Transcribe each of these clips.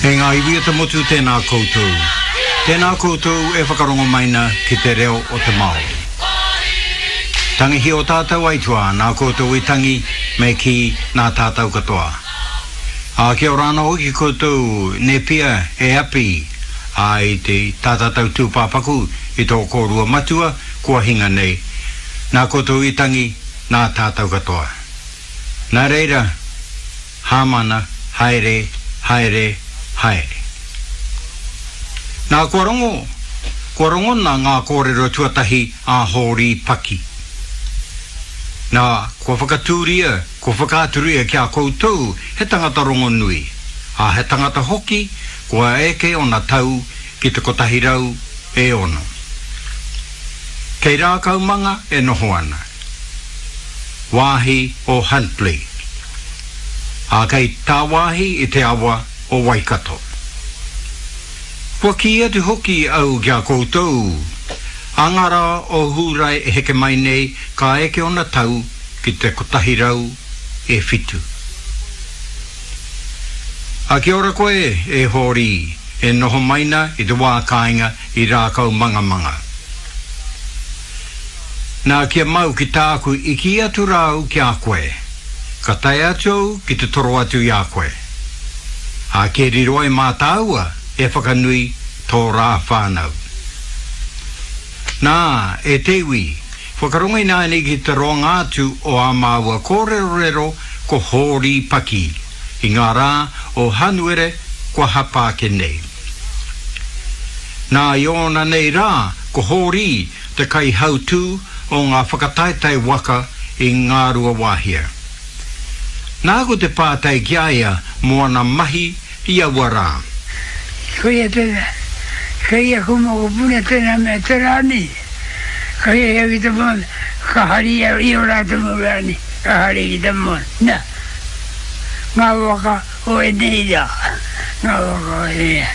E ngā iwi o te motu tēnā koutou. Tēnā koutou e whakarongo mai na ki te reo o te Māori. Tangihia o tātou aituā nā koutou i tangi me kī nā tātou katoa. Ā, kia ora anō hoki koutou Nepia e Api, ā, i te tā tātou tūpāpaku i tō kōrua matua kua hinga nei. Nā koutou i tangi, nā tātou katoa. Nā reira, Hāmana, haere, haere, haere. Nā, kua rongo, kua rongona ngā kōrero tuatahi a Hōri Paki. Nā, kua whakatūria, kua whakaaturia ki a koutou he tangata rongonui, ā, he tangata hoki kua eke ōna tau ki te 106. Kei Rākaumanga e noho ana. Wāhi o Huntly, ā, kei tāwāhi i te awa o Waikato. Kua kī atu hoki au ki a koutou, ā ngā rā o Hūrae e heke mai nei ka eke ōna tau ki te 107. Ā, kia ora koe, e Hōri, e noho mai na i te wā kāinga i Rākaumangamanga. Nā, kia mau ki tāku i kī atu rā au ki a koe, ka tae atu au ki te toro atu i a koe. Ā, kia riro ai mā tāua e whakanui tō rā whānau. Nā, e te iwi, whakarongo ināianei ki te roanga atu o ā māua kōrerorero ko Hōri Paki i ngā rā o Hanuere kua hapa ake nei. Nā, i ōna nei rā, ko Hōri te kaihautū o ngā whakataetae waka i Ngāruawāhia. Nāku te pātai ki a ia mō ana mahi i aua rā. Koia tēnā, kei aku mokopuna tēnā mea te rānei. Ka hiahia ki te moana, ka hari i ō rātou mau rānei, ka hari ki te moana. Nā, ngā waka o ēnei rā, ngā waka o ēnei rā.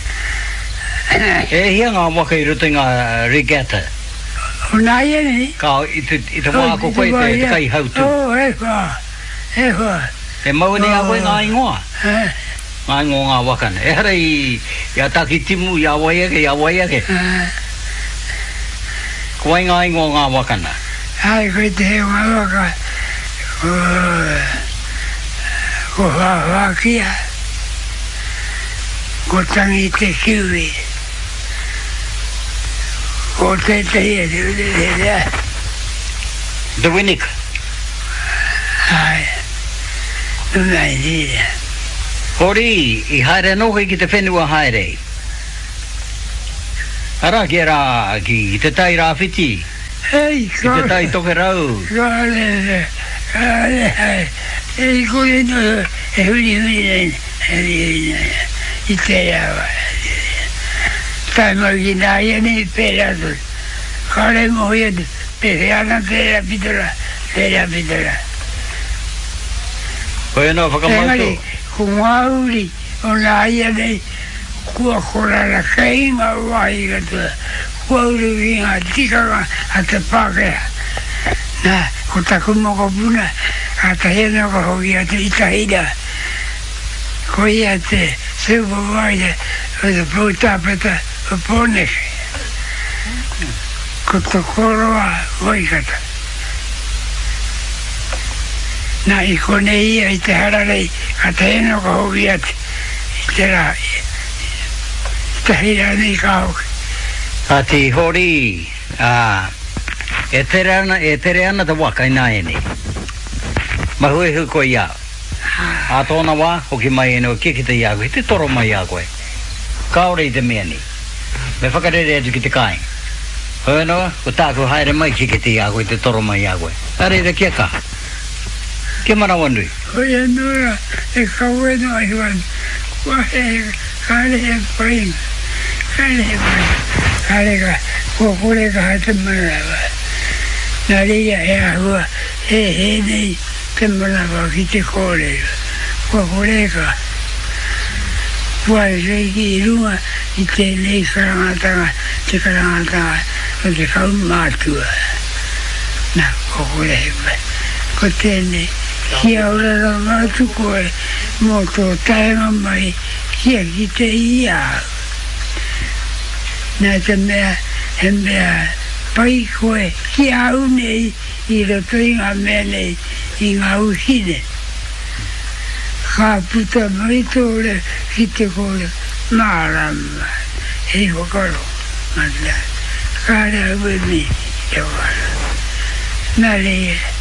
E hia ngā waka i roto i ngā regatta? O nāianei? Ka, i te, i te wā ko koe te, te kaihautū. Oh, e whā, e whā. E mau nei a koe ngā ingoa? Ngā ingoa o ngā waka nei. Ehara i, i a Takitimu, i a wai ake, i a wai ake. Ko wai ngā ingoa o ngā waka nā? Āe, koe te hē o ngā waka, ko, ko Whāwhākia. Ko Tangi te Kiwi. Ko tētehi atu, tētehi atu. The Winnick. Āe. Nō Nigeria. Hori, i haere anō koe ki te whenua haere. Arā, ki ērā, ki Te Tai Rāwhiti. Hei, Ki te Tai Tokerau. Kāre, kāre, hai. E kore noa e hurihuri nei, hurihuri nei, i tērā wā. Tae mai ki nāianei, pērā tonu. Kāre e mōhio atu, pēwhea ana tērā pito rā, tērā pito rā. Koia noa whakamau tō. Engari, ko ngā uri o nāianei, kua korara kei ngā wāhi katoa. Kua uru ki ngā tikanga a te Pākehā. Nā, ko taku mokopuna, kātahi anō ka hoki atu i Tahira. Ko ia te supervisor o te poutāpeta o Pōneke. Ko Tokoroa Waikato. Nā, i konei ia i te hararei, kātahi anō ka hoki atu i te rā. Tahi rānei ka hoki. Kāti Hori, ā, e tere ana, e tere ana te waka ināianei. Mahuehu koe i a au. Ā tōna wā, hoki mai anō kia kite i a koe, te toro mai i a koe. Kāore i te mea nei. Me whakarere atu ki te kāinga. Hoi anō, ko tāku haere mai kia kite i a koe, te toro mai i a koe. Nā reira, kia kaha. Kia manawanui. Hoi anō rā, e kawe noa iho ana, kua he, kāre he painga, kāre he painga, kāre ka, kua kore kaha te manawa. Nā reira he āhua hēhē nei te manawa ki te kōrero, kua kore kaha. Kua reiki i runga i tēnei karangatanga, te karangatanga o te kaumātua. Nā, kua kore he pai. Ko tēnei, kia ora rawa atu koe mō tō taenga mai Kia kite i a au. Nā te mea he mea pai koe ki a au nei i roto i ngā mea nei, i ngā wikine. Ka puta mai tō reo ki te kore mārama hei whakarongo, nā, kāre au e mihi ki te whakarongo. Nā reira,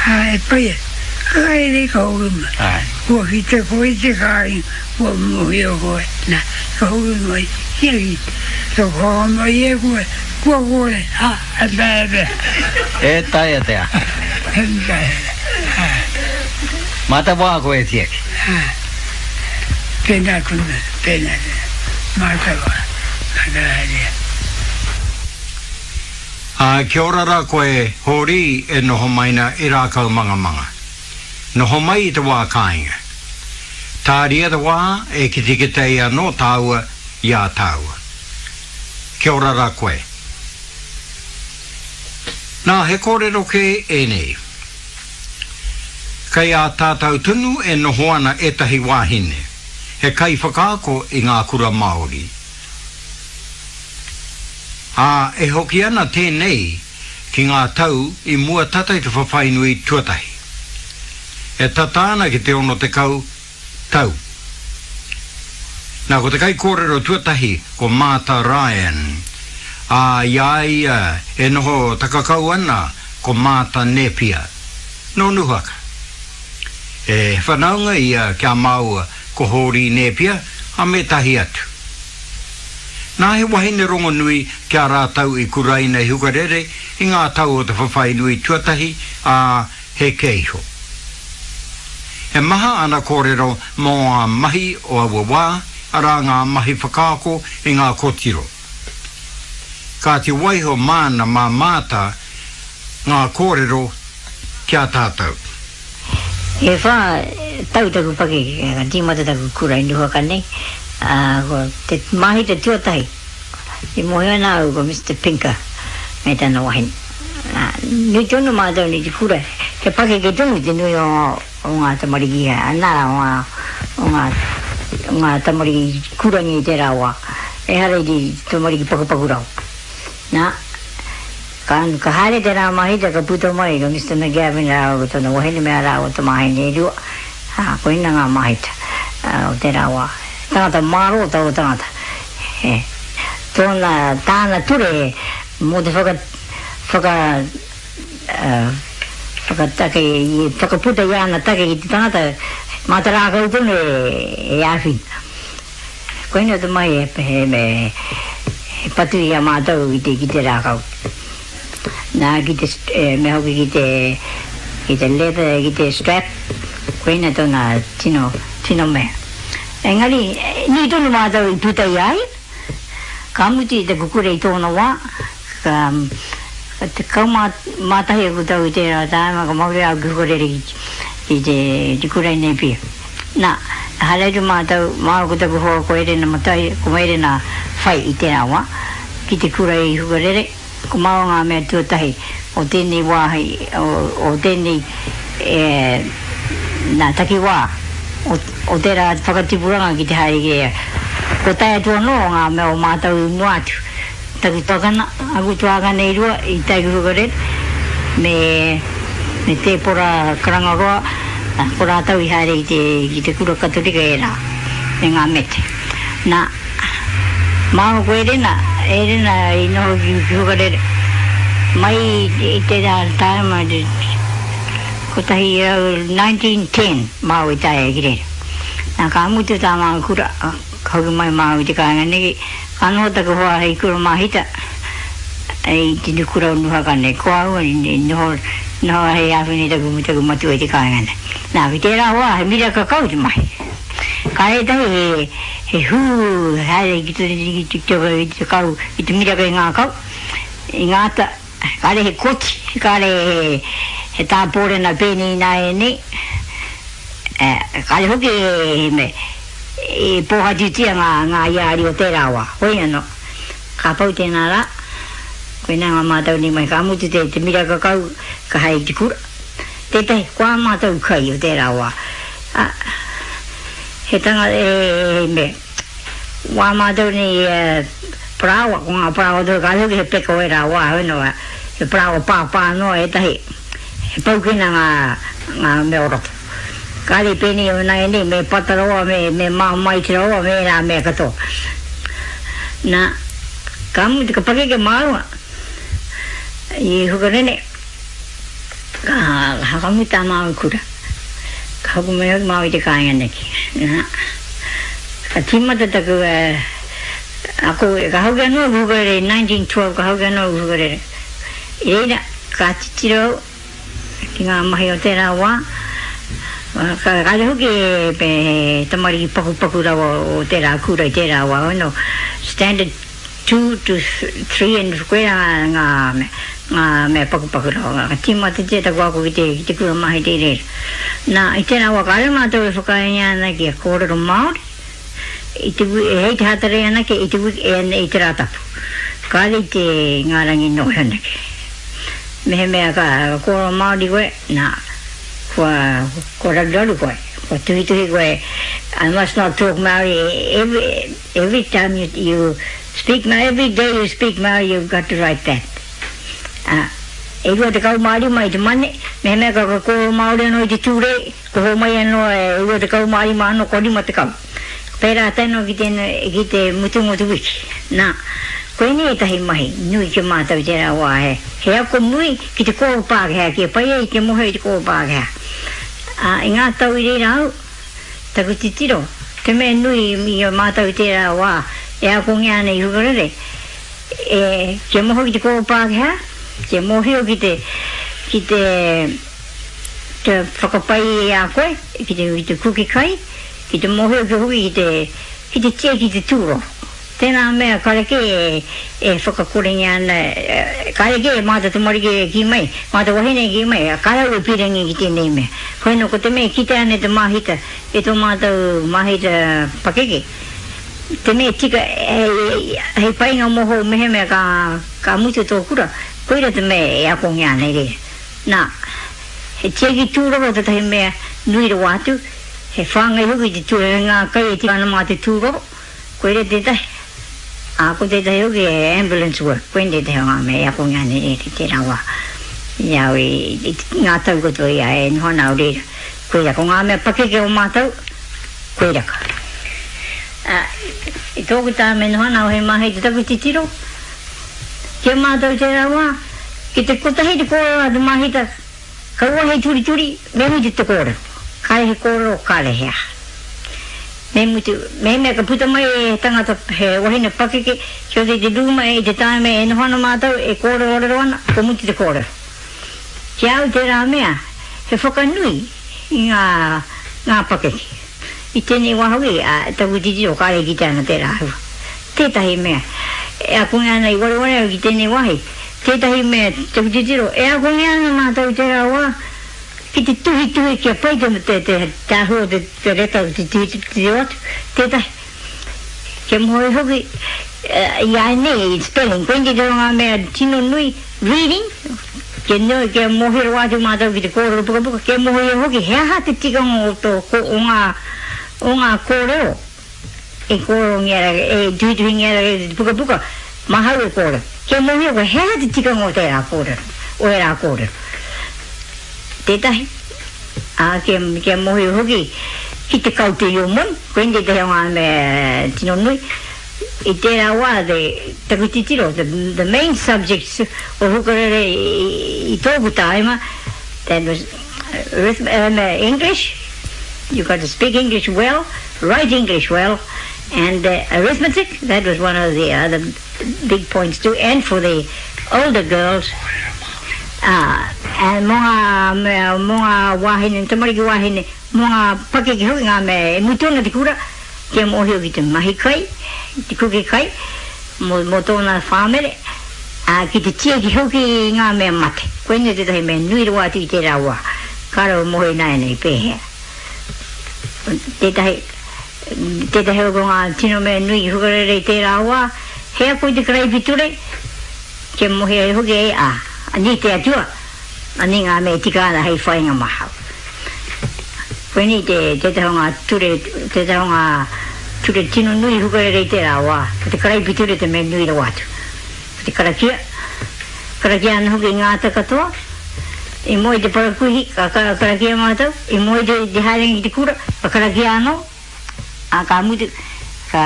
ā, e pai ana, ka haere ka hoki mai. Kua kite koe i te kāinga, kua mōhio koe, nā, ka hoki mai, kia kite, ka whakamai e koe, kua kore, ā, e taea te aha. E taea te aha. E taea te aha. Mā te wā koe e tiaki. Ā, tēnā tonu, tēnā tonu, mā te wā, mā te haere. Ā, kia ora rā koe, Hōri, e noho mai na i Rākaumangamanga. Noho mai i te wā kāinga. Tāria te wā e kitekite ai anō tāua i a tāua. Kia ora rā koe. Nā, he kōrero kē ēnei. Kei a tātau tonu e noho ana ētahi wāhine, he kaiwhakaako i ngā kura Māori. Ā, e hoki ana tēnei ki ngā tau i mua tata i te whawhai nui tuatahi. E tata ana ki te 60 tau. Nā, ko te kaikōrero tuatahi ko Maata Ryan, ā, i a ia e noho takakau ana ko Maata Nēpia, nō Nuhaka. He whanaunga ia ki a māua ko Hōri Nēpia, ā, me ētahi atu. Nā he wahine rongonui ki a rātou i kuraina i Hukarere i ngā tau o te whawhai nui tuatahi, ā, heke iho. He maha ana kōrero mō ngā mahi o aua wā, arā ngā mahi whakaako i ngā kōtiro. Kāti waiho māna mā Maata ngā kōrero ki a tātou. E whā tau taku pakeke ka tīmata taku kura i Nuhaka nei, ā, ko te māhita tuatahi i mōhio ana au ko Mister Pinker me tana wahine. Nā, nui tonu mātou nei te kura, he pakeke tonu te nui o o ngā tamariki, nā, o ngā, o ngā, o ngā tamariki kurangi i tērā wā, ehara i te tamariki pakupaku rawa. Nā, ka, ka haere tērā mahita ka puta mai ko Mister McGavin rāua ko tana wahine me ā rāua tamāhine e rua, ā, koina ngā mahita o tērā wā. Tangata mārō taua tangata. He, tōna, tāna ture mō te whaka, whaka, whakatake, whakaputa i āna take ki te tangata, mā te rākau tonu e āwhina. Koina te mahi he patu i a mātou ki te rākau. Nā, ki te, mea hoki ki te, ki te leather, ki te strap, koina tōna tino, tino mea. Engari, nui tonu mātou i puta i a ia, ka mutu i te kukure i tōna wā, ka, 11 aku tau i tērā tāima, ka mauria au ki Hukarere ki te, te kura i Napier. Nā, haere atu mātou, māua ko taku hoa ko Erena Matai, ko Erena Whai i tērā wā, ki te kura i Hukarere, ko māua ngā mea tuatahi o tēnei wāhi, o, o tēnei, e, nā, takiwā o, o tērā whakatipuranga ki te haere ki reira. Kua tae atu anō ngā mea o mātou i mua atu. Taku tuakana, aku tuākana e rua i tae ki Hukarere, me, me Tēpora Karangaroa, ko rātou i haere ki te, ki te kura Katorika ērā, me ngā mete. Nā, māua ko Erena, Erena i noho ki, ki Hukarere, mai i tērā tāima, 1910 māua i tae ai ki reira. Nā, ka mutu tā māua kura, Ka hoki mai māua i te kāinga nei, ka noho taku hoa hei kura māhita i te nukura o Nuhaka nei. Ko au i noho, noho hei āwhina i taku, taku matua i te kāinga nei. Nā, ki tērā wā, he miraka kau te mahi. Ka ētahi he, he hū haere ki te, ki te, ki te kau, ki te miraka i ngā kau, i ngā ata, kāre he koti, kāre he, he tāpōrena pēnei ināianei, kāre hoki he mea. I pōhatutia ngā, ngā iāri o tērā wā. Hoi anō, ka pau tēnā rā, koinā ngā mātau nei mai, ka mutu te, te miraka kau, ka haere ki te kura. Tētahi, ko ā mātou kai o tērā wā, ā, He tangata, he mea. Wā mātou nei parāoa, ko ngā parāoa tonu kāre hoki he peka o ērā wā, heoi nō, he parāoa pāpā noa ētahi, he paukena ngā, ngā mea o roto. Kāre i pēnei o nāianei, me pata rawa, me, me māmaiti rawa, me ērā mea katoa. Nā, ka mutu, ka pakeke māua i Hukarere, ka whakamutu tā māua kura. Ka hoki mai hoki māua i te kāinga neki. Nā, ka tīmata taku ako, ka hoki anō ki Hukarere i 1912, ka hoki anō ki Hukarere. I reira, ka titiro au ki ngā mahi o tērā wā, ka kāre hoki he tamariki pakupaku rawa o tērā kura i tērā wā, no, standard two to three and koirā ngā ngā mea pakupaku rawa. Ka tīmatatia taku ako ki te ki te kura mahi i reira. Nā, i tērā wā kāre mātou e whakaaengia ana kia kōrero Māori i te hei te Hātarei anake i te i te Rātapu. Kāre i te ngā rangi noho anake. Mehemea ka kōrero Māori koe, nā, kua kua raruraru koe, kua tuhituhi koe I must not talk Māori every Every time you you speak Maori, every day you speak Maori you've got to write that. Ā, e 25 i te Mane, mehemea ka kōrero Māori anō i te Tūrei, ko hōmai anō e 25 anō kua 50. Pērā tēnō ki te, ki te mutunga o te wiki. Nā, koinei ētahi mahi nui ki a mātou i tērā wā, he, he ako nui ki te kōrero Pākehā, kia pai ai te mōhio i te kōrero Pākehā. Ā, i ngā tau i reira au, Taku titiro, te mea nui i a mātou i tērā wā e akongia ana i Hukarere, e, kia moho ki te kōrero Pākehā, kia mōhio ki te, ki te, te whakapai i a koe, ki te, ki te kuki kai, ki te mōhio ki hoki ki te, ki te tiaki i te tūroro. Tēnā mea karekē e whakakorengia ana, karekē mā te tamariki e kī mai, mā te wahine e kī mai, kāre au e pīrangi ki tēnei mea. Koe nō ko te mea e kitea ana e te māhita, e tō mātou māhita pakeke, te mea tika hei painga mōhou mehemea ka mutu tō kura, koira te mea e akongia ana i reira. Nā, he tiaki tūroro tētahi mea nui rawa atu, he whāngai hoki te tūroro, he ngā kai e tika ana mā te tūroro. Koira tētahi, ā, ko tētahi hoki he ambulance work, koinei tētahi o ngā mea e akongia ana e te tērā wā i a au i ngā tau katoa i a e noho ana au reira. Koira, ko ngā mea pakeke o mātou, koira ka. Ā, i tōku tāme noho ana au hei mahi te taku titiro, ki a mātou tērā wā, ki te kotahi te kōrero a te māhita, Kaua hei turituri, me mutu te kōrero. Kāre he kōrero, kāre he aha. Me mutu, mehemea ka puta mai he tangata, he wahine pakeke, ki roto i te rūma i te tāime e noho ana mātou, e kōrerorero ana, kua mutu te kōrero. Ki a au tērā mea, he whakanui i ngā, ngā pakeke. I tēnei wā hoki, ā, taku titiro kāre e kitea ana tērā āhua. Tētahi mea, e akongia ana i wareware au ki tēnei wāhi, Tētahi mea, taku titiro, e akongia ana mātou i tērā wā ki te tuhituhi kia pai te, te, te, te āhua o te, te reta o te tuhituhi atu, tētahi, kia moe hoki i a nei, spelling, koinei te ngā mea tino nui, reading, kia nui, kia mōhio rawa atu mātou ki te kōrero pukapuka, kia mōhio hoki he aha te tikanga o tō, o ngā, o ngā kōrero. E kōrerongia ra, e tuhituhingia ra te pukapuka, mahau e kōrero. Kia mōhio koe, he aha te tikanga o tērā kōrero, o ērā kōrero. Tētahi, ā, kia, kia mōhio hoki ki te kaute i ō moni, koinei tētahi o ngā mea tino nui. I tērā wā, te, taku titiro, the, the main subjects o Hukarere i, i tōku tāima, that was English, you got to speak English well, write English well, and arithmetic, that was one of the other big points too, and for the older girls, and mō ngā mea, mō ngā wāhine, tamariki wāhine, mō ngā pakeke hoki ngā mea e mutu ana te kura, kia mōhio ki te mahi kai, te kuke kai, mō, mō tōna whāmere, ā, ki te tiaki hoki i ngā mea mate. Koinei tētahi mea nui rawa atu i tērā wā. Kāre au e mōhio ināianei pēhea. Tētahi, tētahi o ngā tino mea nui i hukarere i tērā wā, he ako i te karaipiture, kia mōhio ai hoki e, ā, anei te Atua, anei ngā mea e tika ana hei whāinga māhau. Koinei te tētahi o ngā ture, tētahi o ngā ture tino nui hukarere i tērā wā. Ko te karaipiture te mea nui rawa atu. Ko te karakia, karakia ana hoki i ngā ata katoa. I moe te parakuihi, ka karakia mātou. I moe te, te haerenga ki te kura, ka karakia anō. Ā, ka mutu, ka,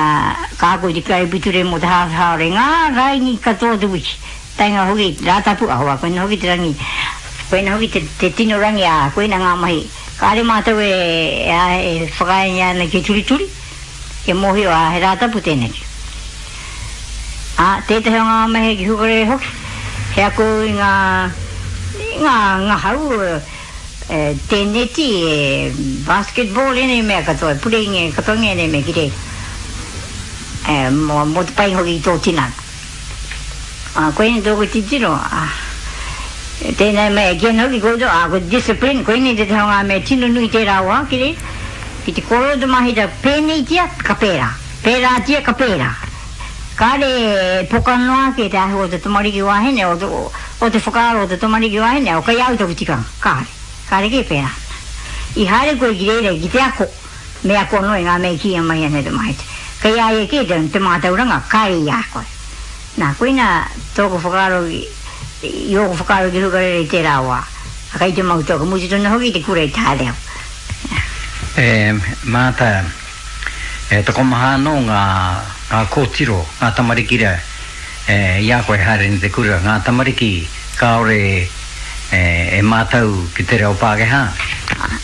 ka ako i te karaipiture mō te hāwhe hāora i ngā raini katoa o te wiki. Taenga hoki i te Rātapu, ahakoa koina hoki te rangi, koina hoki te, te tino rangi, ā, koina ngā mahi. Kāre mātou e, e, e whakaaengia ana kia turituri, kia mōhio, ā, he Rātapu tēneki. Ā, tētahi o ngā mahi ki Hukarere hoki, he ako i ngā, i ngā ngahau, e, tēneti, e, basketball, ēnei mea katoa, e pureingia katoa ngēnei mea ki reira, e, mō, mō te pai hoki ki tō tinana. Ā, koinei tōku titiro, ā, tēnei mea e kī ana hoki koutou, ā, ko te discipline, koinei tētahi o ngā mea tino nui tērā wā ki reira, ki te kōrero te mahita, pēneitia, ka pērā, pērātia, ka pērā. Kāre e poka noa ake te āhua o te tamariki wāhine, o te, o te whakaaro o te tamariki wāhine, o kei a au taku tikanga, kāre, kāre kē pērā. I haere koe ki reira ki te ako, Me ako anō i ngā mea i kīia mai ana e te Maete. Kei a ia kē te mātauranga, kāre i a koe. Nā, koina tōku whakaaro i ōku whakaaro ki Hukarere i tērā wā. Kei te mau tōku mutu tonu hoki i te kura i te haere au. E Maata, e tokomaha anō ngā, ngā kōtiro, ngā tamariki rā, i a koe haere nei te kura, ngā tamariki kāore e mātau ki te reo Pākehā.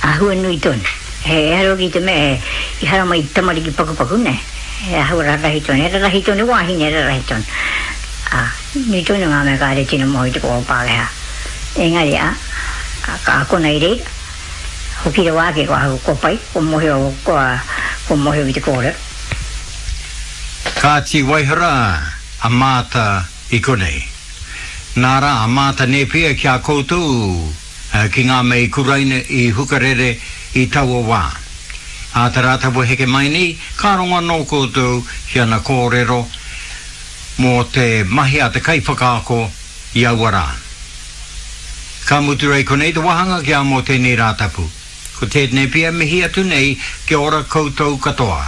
Āhua nui tonu. He ehara hoki i te mea i haramai i te tamariki pakupaku, nē. He āhua rarahi tonu, he rarahi tonu, wāhine rarahi tonu. Ā, nui tonu ngā mea kāre tino moe i te kōrero Pākehā. Engari, ā, ka akona i reira, hoki rawa ake ko ahau, kua pai, kua mōhio, kua, kua mōhio ki te kōrero. Kāti waihara a Maata i konei. Nā rā a Maata Nēpia ki a koutou. Ki ngā mea i kuraina i Hukarere i taua wā. Ā te Rātapu heke mai nei, ka rongo anō koutou ki ana kōrero mō te mahi a te kaiwhakaako i aua rā. Ka mutu rei konei te wāhanga ki a mō tēnei Rātapu. Ko tēnei pia mihi atu nei kia ora koutou katoa.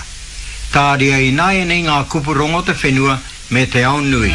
Tāria ināianei ngā kupu rongo te whenua me te ao nui.